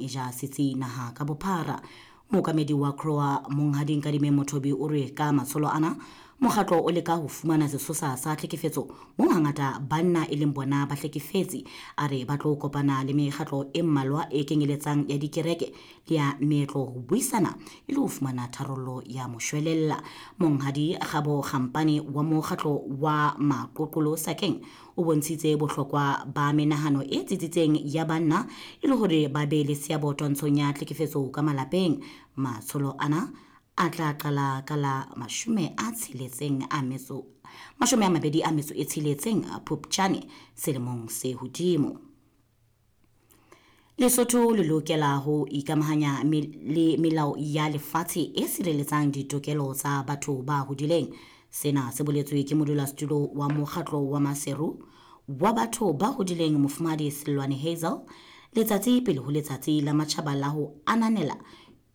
E ja setsi naha ka bophara. Mookamedi wa CROA Monghadi Nkadimeng Mothobi o re ka matsholo ana mokgatlo o leka ho fumana sesosa sa tlhekefetso moo hangata banna e leng bona bahlekefetsi. A re ba tlo kopana le mekgatlo e mmalwa e kenyeletsang ya dikereke le ya meetlo ho buisana e le ho fumana tharollo ya moshwelella. Monghadi Kgabo Kgampane wa mokgatlo wa Maqoqolo Sakeng o bontshitse bohlokwa ba menahano e tsitsitseng ya banna e le hore ba be le seabo twantshong ya tlhekefetso ka malapeng. Matsholo ana a tla qala ka la 26 Phupjane selemong se hodimo. Lesotho le lokela ho ikamahanya le melao ya lefatshe e sireletsang ditokelo tsa batho ba hodileng. Sena se boletswe ke modulasetulo wa mokgatlo wa Maseru wa batho ba hodileng Mofumahadi Selwane Hazel letsatsi pele ho letsatsi la matjhaba la ho ananela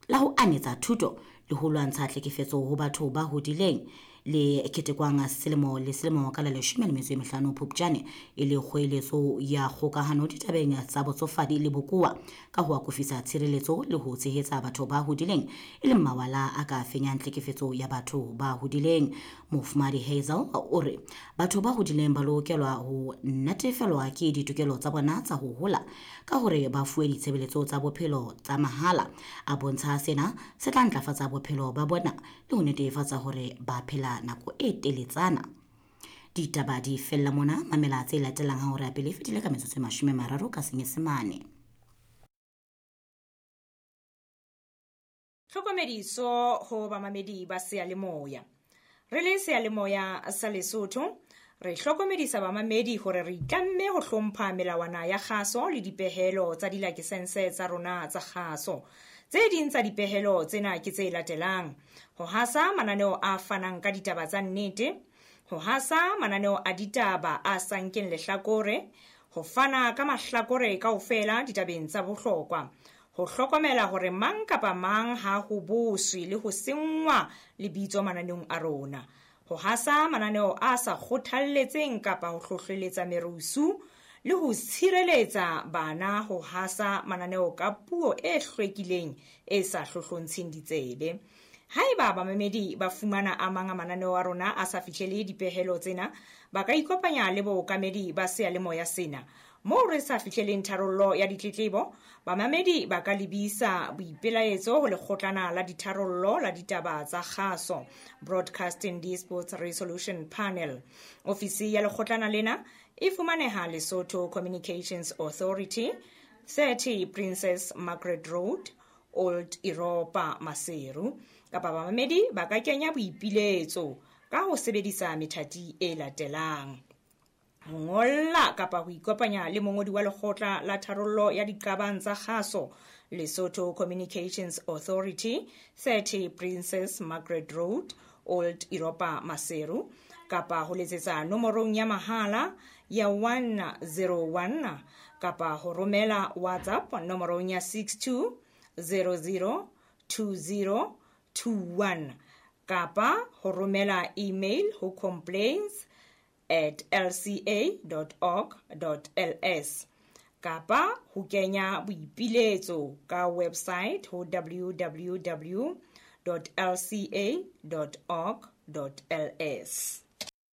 la ho anetsa thuto le ho lwantsha tlhekefetso ho batho ba hodileng le ketekwang selemo le selemo ka la 15 Phupjane e le kgoeletso ya kgokahano ditabeng tsa botsofadi le bokowa ka ho akofisa tshireletso le ho tshehetsa batho ba hodileng e le mawala a ka fenyang tlhekefetso ya batho ba hodileng. Mofumahadi Hazel o re batho ba hodileng ba lokelwa ho natefelwa ke ditokelo tsa bona tsa ho hola ka hore ba fuwe ditshebeletso tsa bophelo tsa mahala. A bontsha sena se tla ntlafatsa bophelo ba bona le ho netefatsa hore ba phela nako e teletsana. Ditaba di fella mona, mamela tse latelang ha hora ya pele e fetile ka metsotso e 30 ka Senyesemane. Tlhokomediso ho bamamedi ba seyalemoya. Re le seyalemoya sa Lesotho, re hlokomedisa bamamedi hore re itlamme ho hlompha melawana ya kgaso le dipehelo tsa dilakesense tsa rona tsa kgaso. Tse ding tsa dipehelo tsena ke tse latelang: ho hasa mananeo a fanang ka ditaba tsa nnete, ho hasa mananeo a ditaba a sa nkeng lehlakore, ho fana ka mahlakore kaofela ditabeng tsa bohlokwa, ho hlokomela hore mang kapa mang ha ho boswe le ho senngwa lebitso mananeong a rona, ho hasa mananeo a sa kgothalletseng kapa ho hlohleletsa merusu le ho tshireletsa bana ho hasa mananeo ka puo e hlwekileng e sa hlohlontsheng ditsebe. Haeba bamamedi ba fumana a mang a mananeo a rona a sa fihlele dipehelo tsena, ba ka ikopanya le bookamedi ba seyalemoya sena. Moo re sa fihleleng tharollo ya ditletlebo, bamamedi ba ka lebisa boipelaetso ho lekgotlana la ditharollo la ditaba tsa kgaso, Broadcasting Disputes Resolution Panel. Ofisi ya lekgotlana lena e fumaneha Lesotho Communications Authority, 30 Princess Margaret Road, Old Europa, Maseru. Kapa bamamedi ba ka kenya boipiletso ka ho sebedisa methati e latelang: ho ngolla kapa ho ikopanya le mongodi wa lekgotla la tharollo ya diqabang tsa kgaso, Lesotho Communications Authority, 30 Princess Margaret Road, Old Europa, Maseru, kapa ho letsetsa nomorong ya mahala ya 101 kapa ho romela WhatsApp nomorong ya 62002021 kapa ho romela email ho complaints@lca.org.ls kapa ho kenya boipiletso ka website ho www.lca.org.ls.